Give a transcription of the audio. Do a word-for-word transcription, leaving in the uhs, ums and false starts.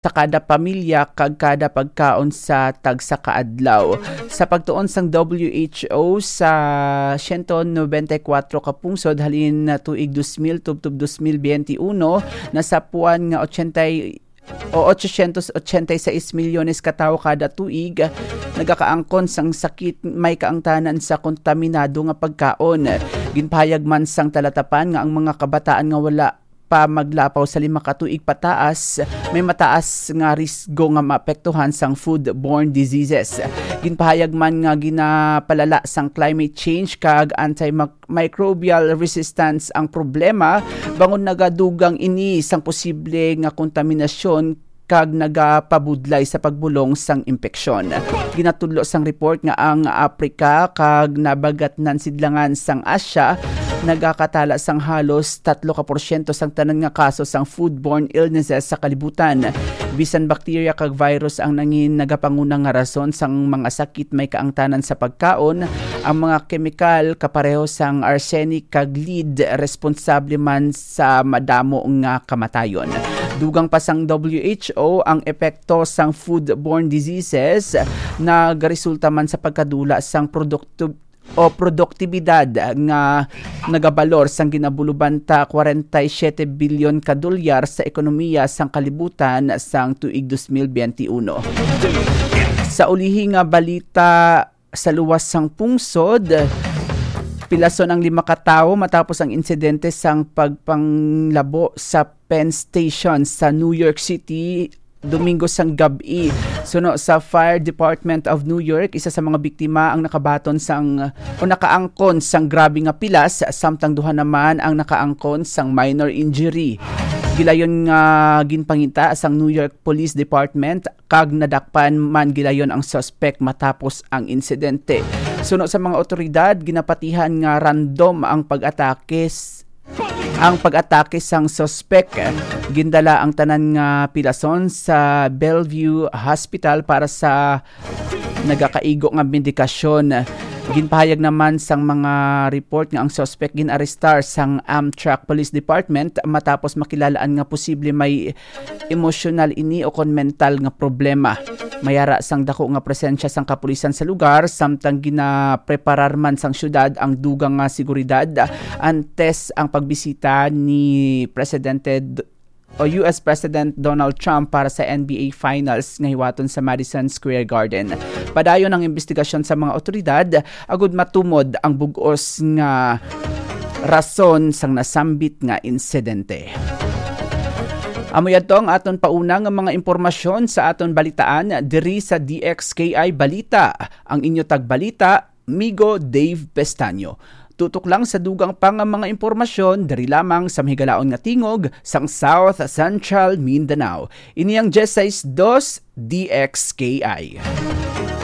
sa kada pamilya kag kada pagkaon sa tagsa ka adlaw. Sa pagtuon sang W H O, sa siyento nobenta y kuwatro ka pungsod halin na tuig dos mil tubtob dos mil biyente uno, nasapuan nga ochenta y, o ochocientos ochenta y seis milyones ka tawo kada tuig nagakaangkon sang sakit may kaangtanan sa kontaminado nga pagkaon. Ginpahayag man sang talatapan nga ang mga kabataan nga wala pa maglapaw sa lima ka tuig pataas, may mataas nga risgo nga maapektuhan sang foodborne diseases. Ginpahayag man nga ginapalala sang climate change kag antimicrobial resistance ang problema, bangon nagadugang ini sang posible nga kontaminasyon kag nagapabudlay sa pagbulong sang impeksyon. Ginatudlo sang report nga ang Africa kag nabagatnan sidlangan sang Asia nagakatala sang halos tatlo ka porsyento sang tanan nga kaso sang foodborne illnesses sa kalibutan. Bisan bakterya kag virus ang nangin nagapanguna nga rason sang mga sakit may kaangtanan sa pagkaon, ang mga kemikal kapareho sang arsenic kag lead responsable man sa madamo nga kamatayon. Dugang pa sang W H O, ang epekto sang foodborne diseases nagaresulta man sa pagkadula sang produkto o produktibidad nga nagabalor sang ginabulubanta kwarenta y siyete bilyon ka dolyar sa ekonomiya sang kalibutan sang tuig dos mil biyente uno. Sa ulihi nga balita, sa luwas sang pungsod, pilason ang lima ka tawo matapos ang insidente sang pagpanglabo sa Penn Station sa New York City Domingo sang gab-i. Suno sa Fire Department of New York, isa sa mga biktima ang nakabaton sang o nakaangkon sang grabe nga pilas, samtang duha naman ang nakaangkon sang minor injury. Gilayon nga ginpangita sang New York Police Department kag nadakpan man gilayon ang suspek matapos ang insidente. Suno sa mga otoridad, ginapatihan nga random ang pag-atake s-, ang pag-atake sang suspek. Gindala ang tanan nga pilason sa Bellevue Hospital para sa nagakaigo nga medikasyon. Ginpahayag naman sang mga report nga ang suspek ginarestar sang Amtrak Police Department matapos makilalaan nga posible may emosyonal ini o kon mental nga problema. Mayara sang dako nga presensya sang kapulisan sa lugar, samtang ginapreparar man sang syudad ang dugang nga seguridad antes ang pagbisita ni Presidente D-, o U S President Donald Trump para sa N B A Finals nga hiwaton sa Madison Square Garden. Padayon ang investigasyon sa mga otoridad agud matumod ang bug-os nga rason sang nasambit nga insidente. Amo yadto ang aton pauna nga mga impormasyon sa aton balitaan diri sa D X K I Balita. Ang inyo tagbalita, Migo Dave Pestaño. Tutok lang sa dugang pa nga mga impormasyon diri lamang sa mahigalaon nga tingog sang South Central Mindanao. Ini ang diyes sais dos D X K I.